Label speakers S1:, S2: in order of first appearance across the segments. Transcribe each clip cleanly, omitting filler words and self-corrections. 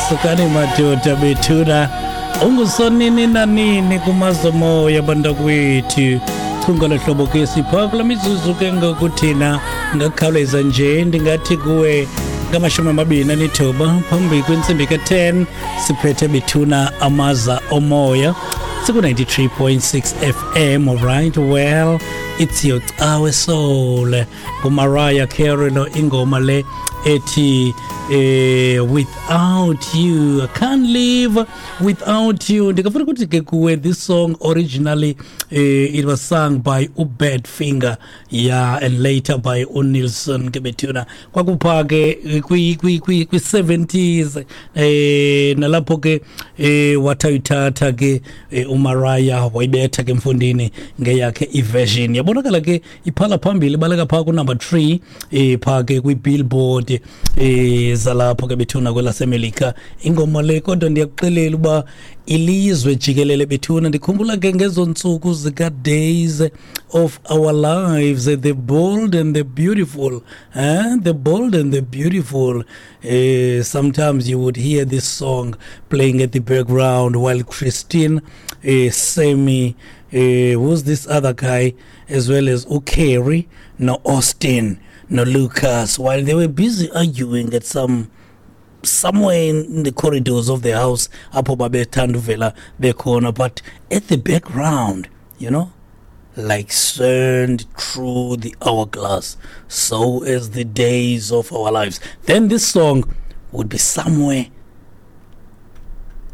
S1: Sukani madoda bethuna, ungusonini nanini kumazomoya bantakwethu. Chunga lohlobo ke sipha kula mizuzu ke ngoku thina ngakhawuleza nje ndingathi kuwe ngama-29 phambi kwentsimbi ka-10 siphethe bethuna amaza omoya siku-93.6 FM. Alright, well, it's your Cawe Soul nguMariah Carey lo, ingoma le ethi "Without You". I can't live without you. Ndingafuna ukuthi ke kuwe this song originally it was sung by uBadfinger, yeah, and later by uNilson ke bethuna. Kwakupha ke kwi 70s nalapho ke wathayithatha ke uMariah wayibetha ke mfundini ngeyakhe iversion. Yabonakala ke iphala phambili, baleka phaa ku number 3 phaa ke kwi Billboard zalapho ke bethuna kwelaseMelika ingoma le. Kodwa ndiyakuxelela uba ilizwe jikelele bethuna, ndikhumbula ke ngezo ntsuku zika Days of Our Lives, The Bold and the Beautiful, eh? The Bold and the Beautiful. Sometimes you would hear this song playing at the background while Christine, Sammy, who's this other guy, as well as uCarrie, no Austin, no Lucas, while they were busy arguing at some somewhere in the corridors of the house apho babethanda uvela bekhona, but at the background, like sand through the hourglass, so as the days of our lives, then this song would be somewhere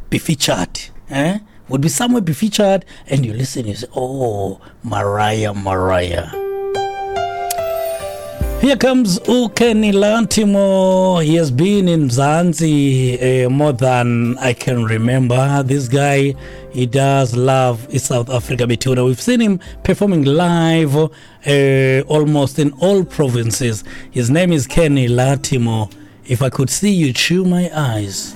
S1: be featured, eh? Would be somewhere be featured, and you listen, you say, "Oh, Mariah, Mariah." Here comes uKenny Lattimore. He has been in Mzansi more than I can remember. This guy, he does love South Africa bethuna. We've seen him performing live almost in all provinces. His name is Kenny Lattimore. "If I Could See You Through My Eyes."